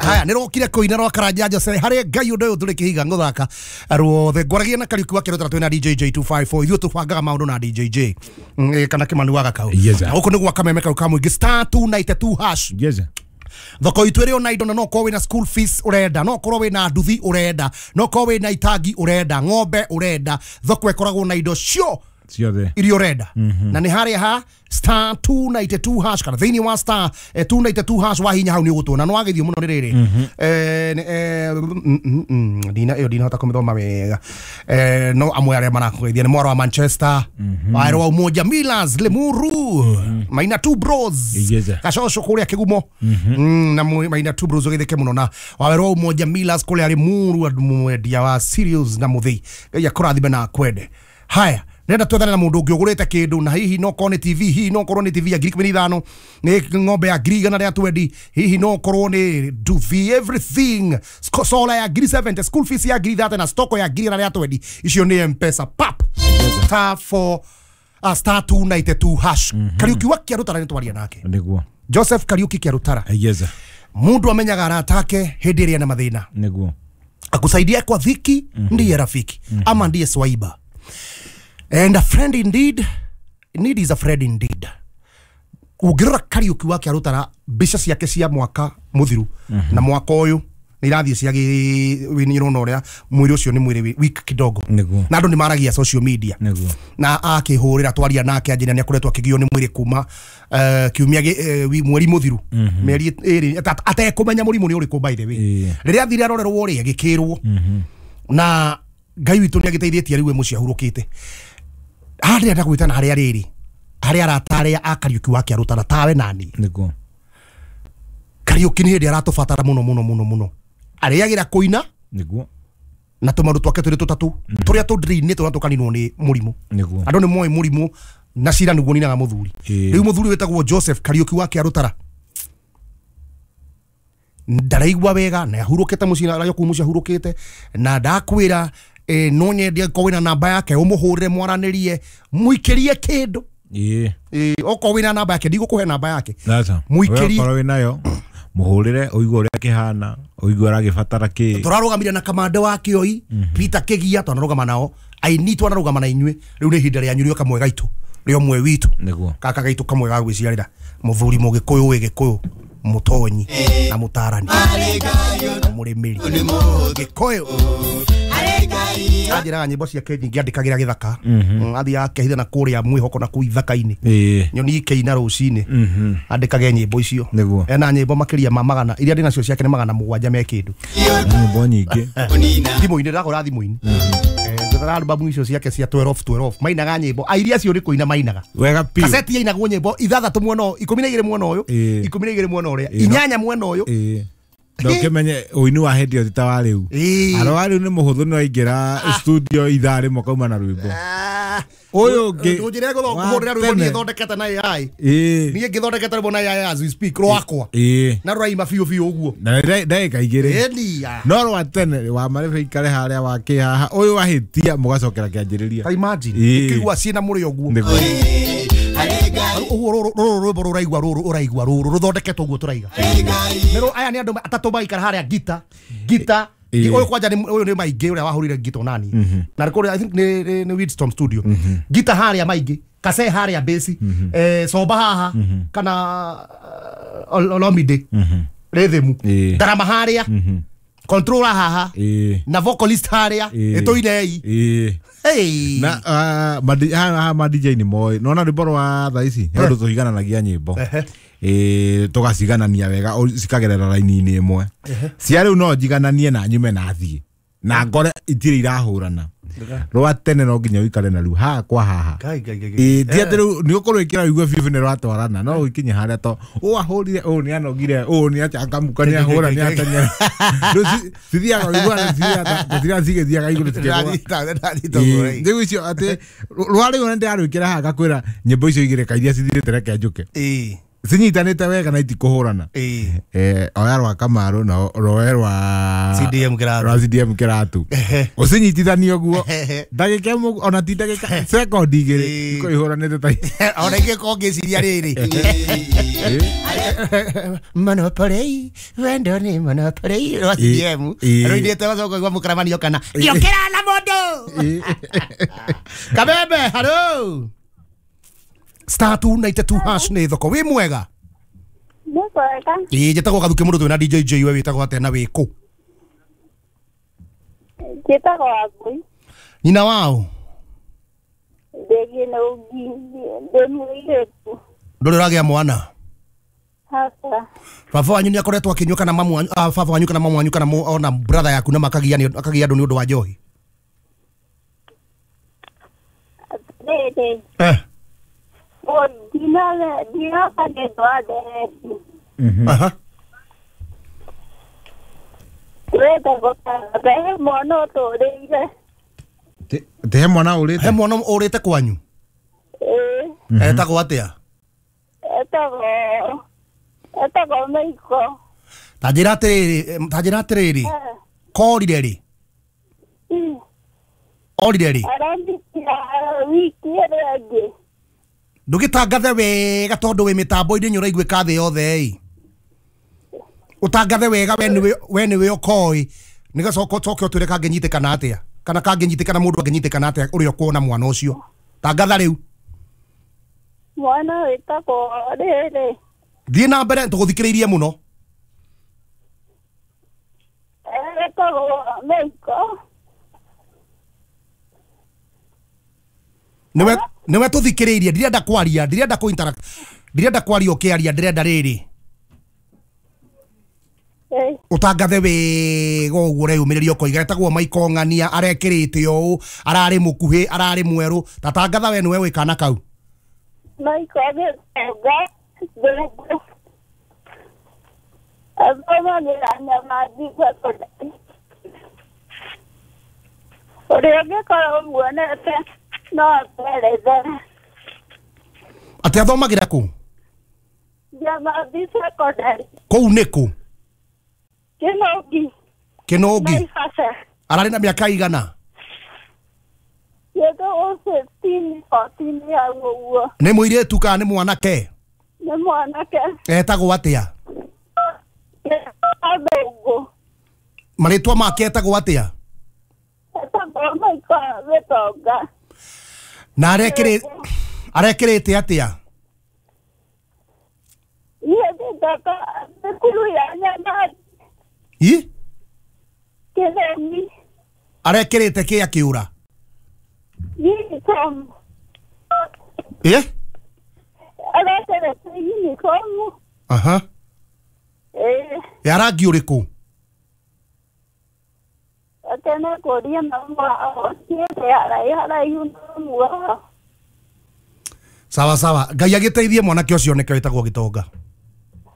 Haya nä rokire kå ina rwa Karanja Jose harä Ngai å ndå å yå tå rä kä higa gå thaka ruothe. Ngwaragia na Kariuki wa Kĩrũtara twĩna DJ J254. Ithuĩ tũbangaga maũndũ na DJ J. Kana Kĩmani wa Gakau. Yes, sir. Na gũkũ nĩ gwa kameme kau ka mũingĩ *292 hash. Yes, sir. Thoko itũ ĩrĩ ona indo, na no korwo wĩna school fees ũrenda, no korwo wĩna nduthi ũrenda, no korwo wĩna itangi ũrenda, ng'ombe ũrenda, thoko ĩkoragwo na indo cio Ciothe. iria ũrenda. Na nĩ harĩa ha *292 hash kana thĩinĩ wa *292 hash wahinya hau nĩ ũgũtuona. No wagĩthiĩ mũno nĩ rĩrĩ, ndina ĩyo ndinahota kũmĩthoma wega. No amwe arĩa marakũgeithia nĩ mwaro wa Manchester, waero wa Umoja Millers, Limuru, Maina Two Bros. Yes, sir. Gacoco kũrĩa Kĩgumo. Na Maina Two Bros ũgĩthĩke mũno na wawero wa Umoja Millers kũrĩa Limuru, andũ mwendia wa cereals na mũthĩi. Ngai akũrathime na akwende. Haya, ndĩrenda twethane na mũndũ ũngĩ ũgũrĩte kĩndũ, na hihi no korwo nĩ TV, hihi no korwo nĩ TV ya 15,000, nĩ ng'ombe ya 120,000, hihi no korwo nĩ nduthi, everything, solar ya 70,000, school fees ya 30,000 na stoko ya 120,000. Icio nĩ M-Pesa pap *4 *292 hash. Kariuki wa Kĩarũtara nĩ twaria nake. Nĩguo. Joseph Kariuki Kĩarũtara. Yes, sir. Mundu amenyaga arata ake hĩndĩ ĩrĩa ena mathĩna. Nĩguo. Akusaidia kwa dhiki ndiye rafiki ama ndiye swaiba. And a friend indeed, need is a friend indeed. Ũngĩrora Kariuki wa Kĩarũtara mbica ciake cia mwaka mũthiru na mwaka ũyũ nĩ irathiĩ ciagĩ ũrona ũrĩa mwĩrĩ ũcio nĩ mwĩrĩ weak kidogo. Nĩguo. Na andũ nĩ maragia social media. Nĩguo. Na akĩhũrĩra twaria nake anjĩra nĩ akoretwo akĩgio nĩ mwĩrĩ kuma kiumia mweri mũthiru, mĩeri ĩrĩ atekũmenya mũrimũ nĩ ũrĩkũ, by the way. Rĩrĩa athire arorerwo rĩ, agĩkĩrwo na Ngai witũ nĩ agĩteithĩtie, rĩu e mũciĩ ahurũkĩte. Haha ndĩrenda gwĩtana harĩa rĩrĩ harĩa arata arĩa a Kariuki wa Kĩarũtara tawe nani. Nĩguo. Kariuki nĩ hĩndĩ aratũbatara mũno mũno mũno mũno, arĩagĩra kũina. Nĩguo. Na tũmaũndũ twake tũrĩ tũtatũ tũrĩa tũndĩrĩ-inĩ tũrĩa tũkaninwo nĩ mũrimũ. Nĩguo. Andũ nĩ moĩ mũrimũ na cira nĩguo ninaga mũthuri. Rĩu mũthuri wĩtagwo Joseph Kariuki wa Kĩarũtara ndaraigua wega na ahurũkĩte mũciĩ, arĩ kũu mũciĩ ahurũkĩte, na ndakwĩra no nyende angĩkorwo wĩna namba yake ũmũhũrĩre mwaranĩrie, mũikĩrie kĩndũ. Okorwo wĩna namba yake, ndigũkũhe namba yake. Sasa. Mũikĩrie. Okorwo wĩnayo mũhũrĩre ũigue ũrĩa kĩhana, ũigue aragĩbatara kĩ. Tũrarũgamire na kamande wa Kĩoi Peter Kĩgia, twanarũgama nao aini, twanarũgama na inyuĩ. Rĩu nĩ ihinda rĩanyu rĩo kamwe gaitũ, rĩo mwe witũ. Nĩguo. Kaka gaitũ kamwe ga gwĩciarĩra, mũthuri mũgĩkũyũ wĩ gĩkũyũ, mũtonyi na mũtarani na mũrĩmĩri gĩkũyũ. Anjĩraga nyĩmbo ciake nyingĩ andĩkagĩra gĩthaka. Athiaga akehitha na kũrĩa mwĩhoko na kũu ithaka-inĩ, nyoni ikĩina rũcinĩ, andĩkage nyĩmbo icio. Nĩguo. Ena nyĩmbo makĩria ma magana, iria ndĩ nacio ciake nĩ 700 me kĩndũ. Nyĩmbo nyingĩ. Thimũ-inĩ ndagũra thimũ-inĩ. Ngĩthara albamu icio ciake cia 12 12, mainaga nyĩmbo airia acio nĩ kũina mainaga. Wega piũ. Kaseti yainagwo nyĩmbo ithathatũ mwena ũyũ, 12 mwena ũyũ, 12 mwena ũrĩa, 8 mwena ũyũ. Na ũkĩmenye ũini wa hĩndĩ ĩyo ti ta wa rĩu. Aro wa rĩu nĩ mũhũthũ, nĩ waingĩra studio ithaa rĩmwe kauma na rwĩmbo. Ũyũ ũngĩ Ũnjĩre wa kũhũrĩra rwĩmbo tene. niĩ thondekete na AI. Niĩ ngĩthondekete rwĩmbo na AI as we speak rwakwa. Na rũraima biũ biũ ũguo. Na ndagĩka igĩrĩ. Ĩni, ah. No rwa tene wa marebe ikare harĩa wa kĩhaha, ũyũ wahĩtia mũgacokera kĩanjĩrĩria. Ta imagine ũkĩigua ciĩna mũrĩo ũguo. Nĩguo. Ũguo rũrũ rwĩmbo rũraigua rũrũ ũraigua rũrũ rũthondeketwo ũguo tũraiga. Nĩ aya nĩ andũ atatũ maikara harĩa gita gita. Ũyũ kwanja nĩ ũyũ nĩ maingĩ ũrĩa wahũrire gita onani. Na kũrĩa I think nĩ Windstorm Studio. Gita harĩa maingĩ, kase harĩa bass, soba haha kana Olomide. Rhythm. Ndarama harĩa. Controller haha. Na vocalist harĩa. Ĩtũinei. Hey. Na haha ma DJ nĩ moĩ. Nĩwona rwĩmbo rwa thaa ici he ũndũ tũigananagia nyĩmbo. Tũgaciganania wega cikagerera raini-inĩ ĩmwe. Cia rĩu no njigananie na nyume na thiĩ na ngore itirĩ irahũrana. Rwa tene no nginya ũikare na rĩu haha kwa haha. Ngai, Ngai, Ngai, Ngai. Ti atĩ rĩu nĩ ũkũrwĩkĩra ũigue biũ nĩ rwatwarana, no ũkinye harĩa to ũũ ahũrire, ũũ nĩ anogire, ũũ nĩ achangamka, nĩ ahũra, nĩ ateng'era. Rĩu cithiaga ũiguana, cithiaga cigĩthiaga igũrũ cikĩgũa. Ndĩranyita ũguo, Rĩu icio atĩ rwa rĩu nĩ ndĩrarwĩkĩra haha ngakwĩra nyĩmbo icio igĩrĩ ka iria cithirĩte reke njũke. Cinyitanĩte wega na itikũhũrana. Oya rwa Kamaru na roe rwa CDM Kĩratũ. Rwa CDM Kĩratũ. Ũcinyitithanie ũguo. Ndagĩka ĩmwe ona ti ndagĩka sekondi igĩrĩ iko ihũranĩte ta ona ingĩkorwo ngĩciria rĩrĩ. Monopoly, wendo nĩ monopoly rwa CDM. Rũinĩte wacoka ũkaigua mũkaramanio kana gĩũkĩra na mũndũ. Kabembe, hello. Star 292 hash nĩ thoko. Wĩ mwega? Nĩ mwega. Ĩĩ njĩtagwo Gathuki mũndũ twĩna DJ J, we wĩtagwo atĩa na wĩ kũ? Njĩtagwo Wangũi. Nyina wao? Ndĩ Kĩnũngi, ndĩ mũirĩtu. Ndũrĩ ũragĩa mwana? Hata. Baba wanyu nĩ akoretwo akĩnyua kana mamu wanyu, baba wanyu kana mamu wanyu kana ona brother yaku na makagia andũ nĩ ũndũ wa njohi? Atĩrĩrĩ. Te mwana ũrĩte? He mwana ũrĩte kwanyu? Etagwo atĩa? Etagwo Maiko. Ta njĩra atĩrĩrĩ, korire rĩ? Orire rĩ? Arandĩkira wiki ĩrĩa ĩngĩ. Ndũgĩtangathe wega tondũ wĩ mĩtambo-inĩ nĩ ũraiguĩka thĩ yothe ĩ. Ũtangathe wega we nĩwe ũkoĩ nĩgacoka ũcoke ũtwĩre kangĩnyitĩkana atĩa kana kangĩnyitĩkana mũndũ angĩnyitĩkana atĩa ũrĩa ũkuona mwana ũcio. Tangatha rĩu. Mwana wĩtagwo rĩrĩ. Thiĩ na mbere tũgũthikĩrĩirie mũno. Etagwo Maiko. Nĩwe tũthikĩrĩirie, ndirenda kwaria, ndirenda kũ interact, ndirenda kwaria ũkĩaria, ndĩrenda rĩrĩ. Ũtangathe wega ũguo ũreyumĩrĩria ũkoiga etagwo Maiko Ng'ania, arekĩrĩte ũũ, ararĩ mũkuhĩ, ararĩ mwerũ. Ta tangatha we nĩwe wĩ kana kau. Maiko Gĩtonga Thũngũ. Athomagĩra Nyamathi Secondary. Ũrĩa ũngĩkorwo ũmuonete no akwerethere. Atĩ athomagĩra kũ? Nyamathi Secondary. Kũu nĩ kũ? Kĩnũngi. Kĩnũngi. Naivasha. Ararĩ na mĩaka igana? Kĩndũ 15, 14 hau ũguo. Nĩ mũirĩtu kana nĩ mwanake? Nĩ mwanake. Etagwo atĩa? Thũngũ. Marĩtwa make etagwo atĩa? Etagwo Maiko Gĩtonga. Na arekĩrĩte atĩa? Niĩ ndĩtaka thukuru ya Nyamathi. Ĩ? Kĩnũngi. Arekĩrĩte kĩ akĩũra? Uniform. Ĩ? Arekĩrĩte uniform. Aha. Ya rangi ũrĩkũ? Tena kũria mamu wao, thiĩte haraihu na mamu wao. Sawa sawa, Ngai agĩteithie mwanake ũcio nĩkĩo wĩtagwo Gĩtonga.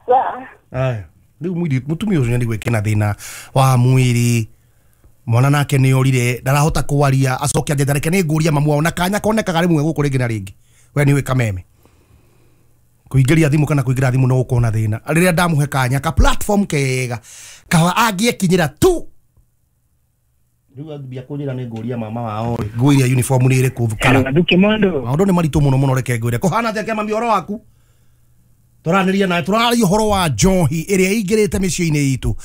Sawa. Aya, rĩu mũtumia ũcio nĩ gwĩkĩna thĩna wa mwĩrĩ. Mwana nake nĩ orire, ndarahota kwaria, acoke anjĩte reke nĩ ngũria mamu wao na kanya konekaga rĩmwe gũkũ rĩngĩ na rĩngĩ. We nĩ ũĩ kameme. Kũingĩria thimũ kana kũingĩra thimũ no gũkorwo na thĩna. Rĩrĩa ndamũhe kanya ka platform kega kawa angĩekinyĩra tu. Rĩu ambia kũnjĩra nĩ ngũria mama wao rĩ, nguo iria uniform nĩ ĩrĩkũ kana. Maũndũ nĩ maritũ mũno mũno, reke ngwĩre. Kũhana atĩa kĩama ũhoro waku? Tũranĩria nawe, tũraria ũhoro wa njohi ĩrĩa ĩingĩrĩte mĩciĩ-inĩ itũ.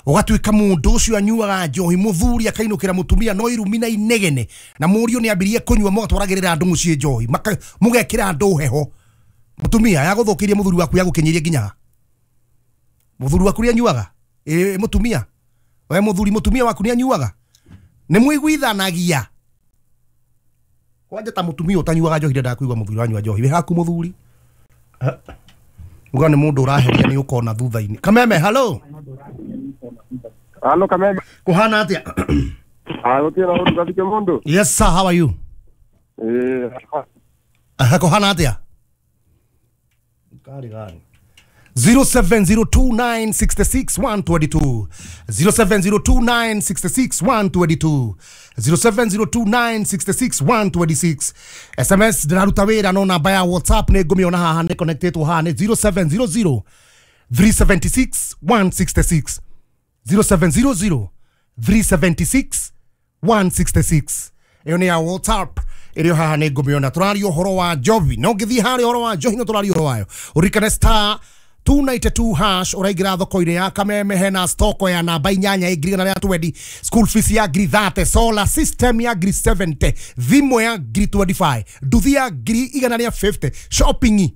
Ũgatuĩka mũndũ ũcio anyuaga njohi, mũthuri akainũkĩra mũtumia no irumi na inegene, na mũriũ nĩ ambirie kũnyua, mũgatwaragĩrĩra andũ mũciĩ njohi, mũgekĩra andũ heho. Mũtumia yagũthũkĩirie mũthuri waku yagũkinyĩrie nginya ha? Mũthuri waku nĩ anyuaga? Ĩ mũtumia? We mũthuri mũtumia waku nĩ anyuaga? Nĩ mũiguithanagia? Kwanja ta mũtumia ũtanyuaga njohi ndendaga kũigua mũthuri wanyua njohi. Wĩ haku mũthuri? Uga nĩ mũndũ ũraheria nĩ ũkona thutha-inĩ. Kameme, hello. Hello Kameme. Kũhana atĩa? Gũtirĩ na ũndũ Gathike mũndũ. Yes sir, how are you? Kũhana atĩa? Kari gani. 0702966122, 0702966122, 0702966126. SMS ndĩraruta wĩra, no namba ya WhatsApp nĩ ngũmĩona haha, nĩ connectetwo haha, nĩ 0700 376 166, 0700 376 166. Ĩyo nĩ ya WhatsApp ĩrĩ haha, nĩ ngũmĩona. Tũraria ũhoro wa njohi, no ngĩthiĩ harĩa ũhoro wa njohi, no tũraria ũhoro wayo. Ũririkane star 292 hash, ũraingĩra thoko-inĩ ya Kameme, hena stoko ya namba inyanya ĩ 120,000, school fees ya 30,000, solar system ya 70,000, thimũ ya 25,000, nduthi ya 150,000, shopping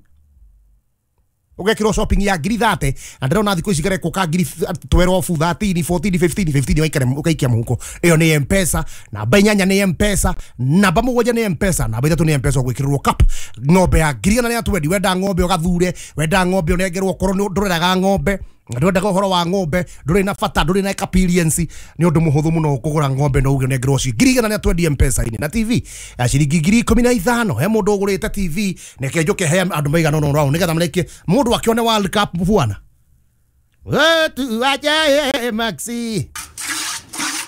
ũgekĩrwo shopping ya 30,000. Na ndĩrona thikũ ici karekwo ka 12,000, 13, 14, 15, 15, waikare ũgaikia mũhuko. Ĩyo nĩ Mpesa. Namba inyanya nĩ Mpesa, namba mũgwanja nĩ Mpesa, namba ithatũ nĩ Mpesa. Ũgwĩkĩrĩrwo cup ng'ombe ya 120,000. Wenda ng'ombe ũgathure, wenda ng'ombe ũnengerwo, okorwo nĩ ndũreraga ng'ombe, ndwendaga ũhoro wa ng'ombe, ndũrĩ na bata, ndũrĩ na experience, nĩ ũndũ mũhũthũ mũno kũgũra ng'ombe no uge ũnengerwo ci 120,000 Mpesa-inĩ. Na TV ya ciringi 15,000, he mũndũ ũgũrĩte TV. Neke njũke he andũ maigana ũna ũrao nĩgetha marekie mũndũ akĩone World Cup bwana. Wetu ajaye Maxi.